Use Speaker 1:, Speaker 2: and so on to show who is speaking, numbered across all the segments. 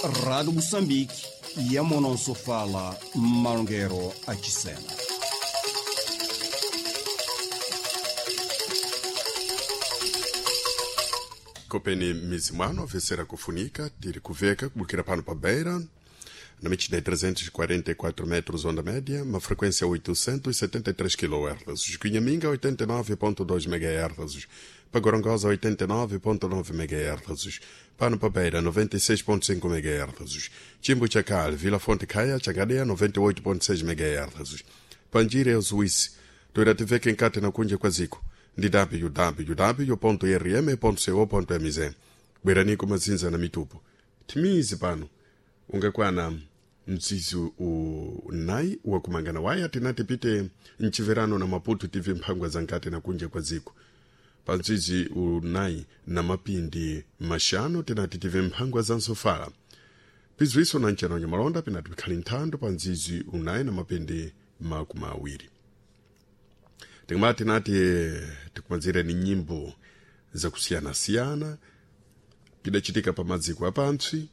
Speaker 1: Rádio Moçambique, Yamonosofala, Malongero Achisena.
Speaker 2: Kopeni mizimwano vesera kufunika tiri kuveka kubukira pano pa beira na medida de 344 metros onda média, uma frequência 873 kHz, Cunhaminga 89.2 MHz, Pagorongosa 89.9 MHz, Pano pa Beira 96.5 MHz, Chimbo Chacal, Vila Fonte Caia, Changadeia 98.6 MHz, Panjira e Suíça, Toirativeka enkati na kunja kwa ziko ndi www.rm.co.mz bweraniko mazinza na mitupo timizi pano ungakwana mzizi unayi wakumangana waya tinati pite mchiverano na maputo tv mphangwa za nkati na kunja kwa ziko pa mzizi unayi na mapindi mashanu tinati tv mphangwa za nsofala pizwiso na mchano nyamalonda pinati pikhali nthando pa mzizi unayi na mapindi makumi awiri tikumati tinati tikumazire ni nyimbo zakusiyanasiyana pidachitika pa maziko apansi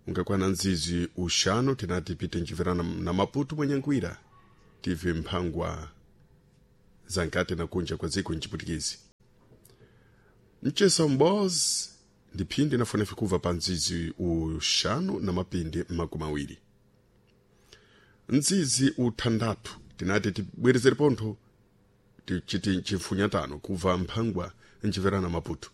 Speaker 2: ungakwana nzizi uxanu tinati pite nchiverana na maputo mwenyangwira tive mphangwa za nkati na kunja kwa dziko mchiputikizi mchesa mbozi ndi phindi nafunefe kuva pa nzizi uxanu na mapindi makumi awiri nzizi uthandathu tinati tibwerezere pontho tichiti chifunyatano kuva mphangwa nchiverana maputo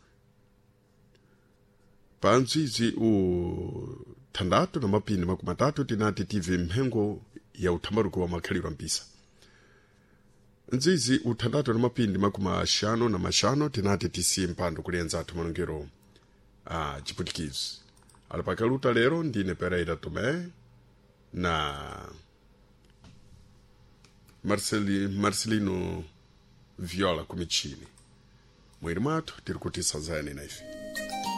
Speaker 2: pa nzizi uthandathu na mapindi makumi atatu tinati tive mphengo ya uthambaruko wa makhalidwe ampisa nzizi uthandathu na mapindi makumi axanu na maxanu tinati tisiye mpando kuli anzathu malongero a chiputikizi ali pakaluta lero ndine pereira tomé na Marcelino Viola kumichini mwiri mwathu tiri kuti sazayani na ife.